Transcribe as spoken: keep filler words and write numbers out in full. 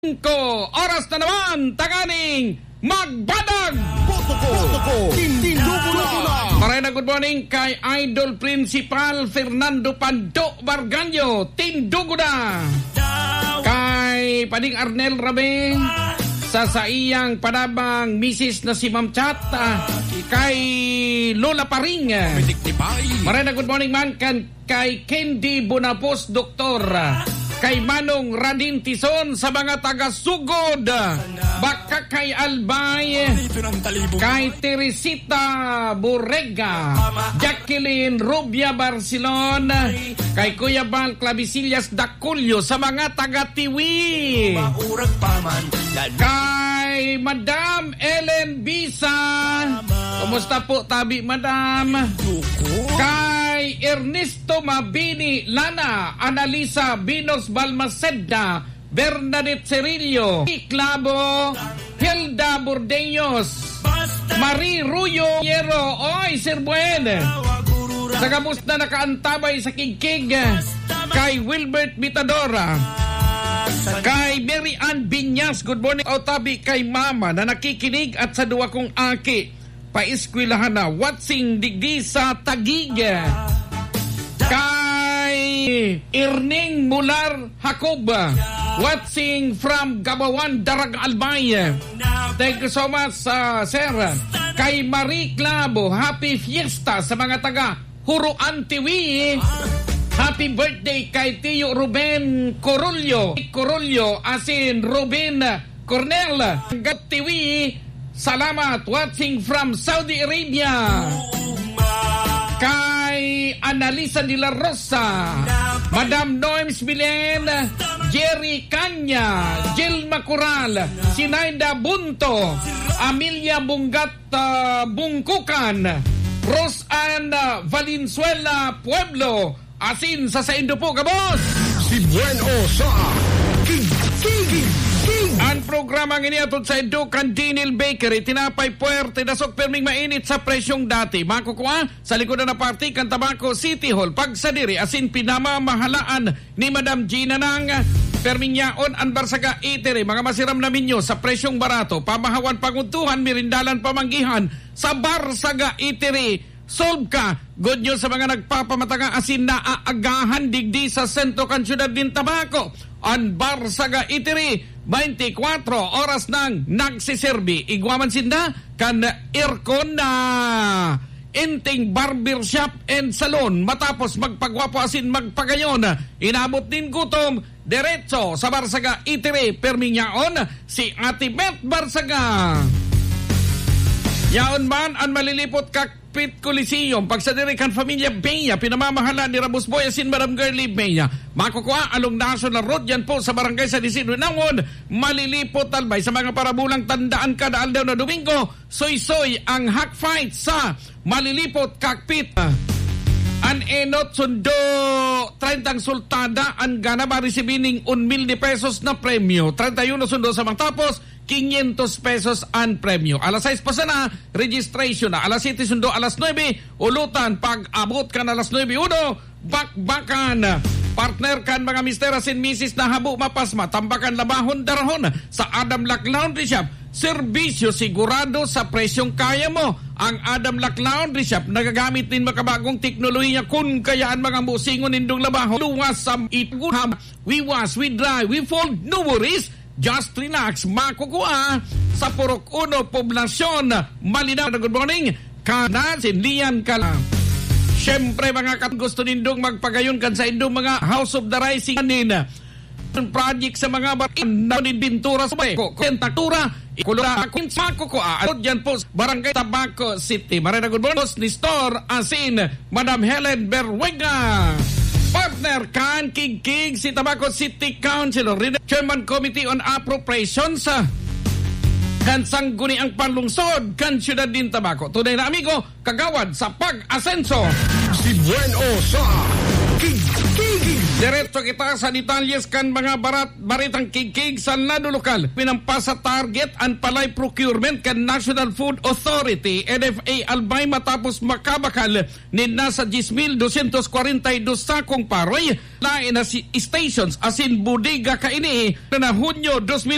Singko, oras na naman, tanganing magbadag! Boto ko, boto ko, tindugo na! Maray na good morning kay Idol Principal Fernando Pando Barganyo, tindugo na! Kay Pading Arnel Rabe, sa saiyang panabang misis na si Ma'am Chat, ah, kay Lola Paring. Maray na good morning man kan kay Candy Bonapos, Doktor, kay Manong Radin Tison sa mga taga Sugod, Bacacay, Albay, kay Teresita Borrega, Jacqueline Rubia Barcelon, kay Kuya Bal Clavisillas Daculio sa mga taga Tiwi. Kay Madam Ellen Bisa. Kumusta po, tabi, Madam? Kay Ernesto Mabini Lana, Analisa Binos Balmaceda, Bernadette Cerillo, Clavo, Hilda Burdeños, Marie Ruyo Hierro, oy, Sir Buen. Sa gabos na nakaantabay sa Kigkig, kay Wilbert Mitadora, kay Mary Ann Binyas, good morning. O, tabi kay Mama na nakikinig at sa duwa kong aki, paeskwelahan na, watching digdi sa Taguig. Kay Irning Mular Jacob, watching from Gabawan, Daraga, Albay. Thank you so much, ah, sir. Kay Marie Clavo, happy fiesta sa mga taga Huroan, Tiwi. Happy birthday kay Tiyo Ruben Corullo. Corullo, as in Ruben Cornel, Tiwi. Salamat. Watching from Saudi Arabia. Kay Analisa de la Rosa, Madam Norms Bilen, Jerry Canya, Jilma Coral, Sinaida Bunto, Amelia Bungat, ah, Bungkukan, Roseanne, ah, Valenzuela Pueblo, asin sa saindo po, gabos! Si Buen O sa Kigkig. Ang programa ngini atod saindo kan Dinil Bakery, tinapay puwerte, dasog perming mainit sa presyong dati. Makukua sa likod na parte kan Tabaco City Hall. Pagsadiri asin pinamamahalaan ni Madam Gina Nang, perming yaon an Barsaga Eatery. Mga masiram na menyo sa presyong barato, pamahawan, pangudtuhan, merindalan, pamanggihan sa Barsaga Eatery. Solve ka. Good news sa mga nagpapamataga asin naaagahan digdi sa sentro kan siyudad nin Tabaco. An Barsaga Eatery, twenty-four oras nang nagsiserbi. Igwa man sinda kan aircon na Inting Barber Shop and Salon. Matapos magpagwapo asin magpagayon, inabot nin gutom, diretso sa Barsaga Eatery. Perming yaon si Ate Beth Barsaga. Yaon man an Malilipot Cockpit Coliseum, pagsadiri kan Familia Bea, pinamamahala ni Rabos Boy asin Madam Girlie Bea. Makukua along National Road, yan po sa Barangay San Isidro Nawon, Malilipot, Albay. Sa mga parabulang, tandaan, kada aldaw na Domingo, soy-soy ang Hack Fight sa Malilipot Cockpit. An enot sundo treinta ang sultada, an ganap maresibi ning un mil de pesos na premyo. Treinta y uno sundo sa matapos, quinientos pesos an premyo. Alas sais pa sana, registration na. Alas siyete sundo alas nuebe, ulutan. Pag-abot kan alas nuebe uno, bakbakan. Partner, kan mga mister asin misis na habo mapasma, tambakan, labahon, darahon sa Adam Lac Laundry Shop. Serbisyo sigurado sa presyong kaya mo. Ang Adam Lac Laundry Shop nagagamit nin makabagong teknolohiya, kun kaya an mga busingon nindong labahon, luwas sa ituguham. We wash, we dry, we fold, no worries. Just relax, makukua sa Purok Uno, Poblacion, Malinao. Good morning, Kanan, Sinlian, Kala. Siyempre, mga kat-, gusto nindong magpagayon kan saindong mga House of the Rising nin project sa mga bar-, na nin pintura sa ko, ko, pintura, ikulura, makukua. Ano dyan po, Barangay Tabaco City. Maray na good morning, Boss Nestor Asin, Madam Helen Berwega. Partner kan Kigkig, si Tabaco City Councilor, Rene-, Chairman Committee on Appropriations, ah, kan Sangguniang Panlungsod kan Siyudad nin Tabaco. Tunay na amigo, kagawad sa pag-asenso. Si Buen O sa Kigkig. Diretso kita sa detalyes kan mga barat-, baretang kigkig sa lado lokal. Pinampas sa target an palay procurement kan National Food Authority, N F A, Albay, matapos makabakal nin nasa diyes mil dosyentos kwarenta y dos sakong paroy, lain na si stations asin bodega kaini na Hunyo dos mil